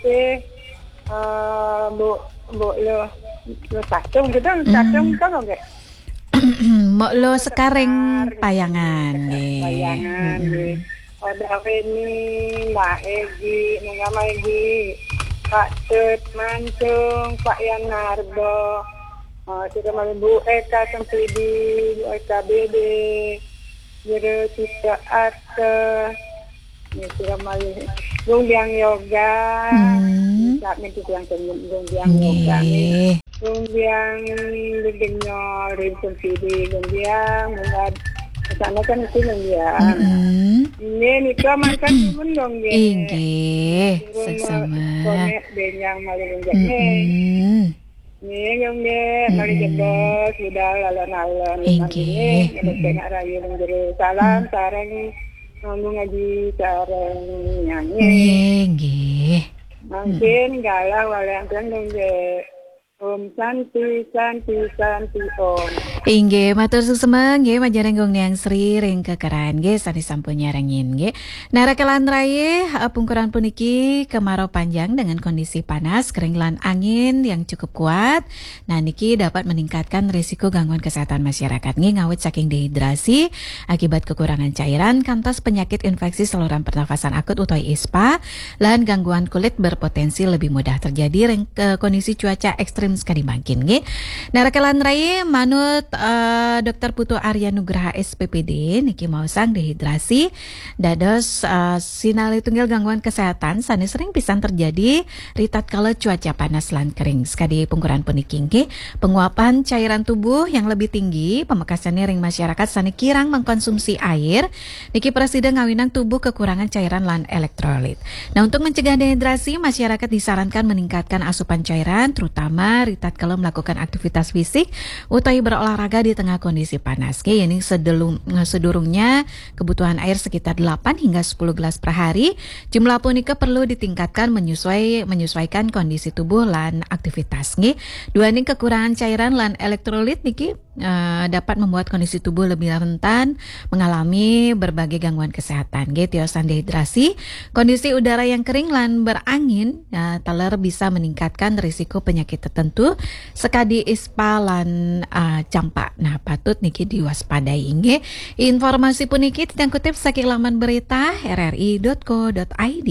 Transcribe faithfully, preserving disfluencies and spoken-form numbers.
Sih, eh, Bu, Bu lo, lo sacung gitu, sacung kan oke. Mbok lo Sekareng Payangan nggih. Payangan nggih. Ada Weni, Mbak Egi, Nunga Egi, Pak Tut Mancung, Pak Yan Narbo, eh, sudah malam Bu Eka Sempidi, Bu Eka Bede, Jero Cita Arte, ya sudah malam Gumbiang Yoga, Hmm. Sak mintu yang Gumbiang Yoga nih. Nggih. Gumbiang Gumbiang Rinsun Sidi Gumbiang Mungad sana kan itu Gumbiang. Mm-mm. Ini nika makan pun dong nggih. Inggih, Turun seksama. Konek benyang malu nggih. Mm-mm. Nggih nggih mari jebos budal alon-alon. Inggih. Nggih tengah rayu nggih. Salam sareng ngomong ngaji sareng nyanyi. Nggih, nggih. Mungkin galah walian nggih. Om Santi Santi Santi Om. Inggih, matur suksma nggih manjenengan Gung Niang Sri ring kekeran nggih sane sampun nyarengin nggih. Nara kelan rayi, eh, pungkuran puniki kemarau panjang dengan kondisi panas, kering lan angin yang cukup kuat. Nah, niki dapat meningkatkan risiko gangguan kesehatan masyarakat nggih ngawit saking dehidrasi akibat kekurangan cairan kantos penyakit infeksi saluran pernafasan akut utawi ispa lan gangguan kulit berpotensi lebih mudah terjadi ring ke kondisi cuaca ekstrim sekadi mangkin nggih. Nara kelan rayi manut eh, Dokter Putu Arya Nugraha S P P D niki maosang dehidrasi dados eh, sinalih tunggil gangguan kesehatan sane sering pisan terjadi ritatkala cuaca panas lan kering. Sekadi pungkuran puniki nggih, penguapan cairan tubuh yang lebih tinggi, pamekasane ring masyarakat sane kirang mengkonsumsi air, niki prasida ngawinang tubuh kekurangan cairan lan elektrolit. Nah, untuk mencegah dehidrasi, masyarakat disarankan meningkatkan asupan cairan, terutama ritatkala melakukan aktivitas fisik utawi berolahraga di tengah kondisi panas. Nggih, ini sedelung, sedurungnya kebutuhan air sekitar delapan hingga sepuluh gelas per hari. Jumlah punika perlu ditingkatkan menyesuai menyesuaikan kondisi tubuh lan aktivitas nggih. Duaning kekurangan cairan lan elektrolit niki eh, dapat membuat kondisi tubuh lebih rentan mengalami berbagai gangguan kesehatan nggih, tiosan dehidrasi. Kondisi udara yang kering lan berangin eh, taler bisa meningkatkan risiko penyakit tertentu sekadi ispa lan eh, campak. Nah, patut niki diwaspadai nggih. Informasi puniki titiang kutip saking laman berita R R I dot co dot I D.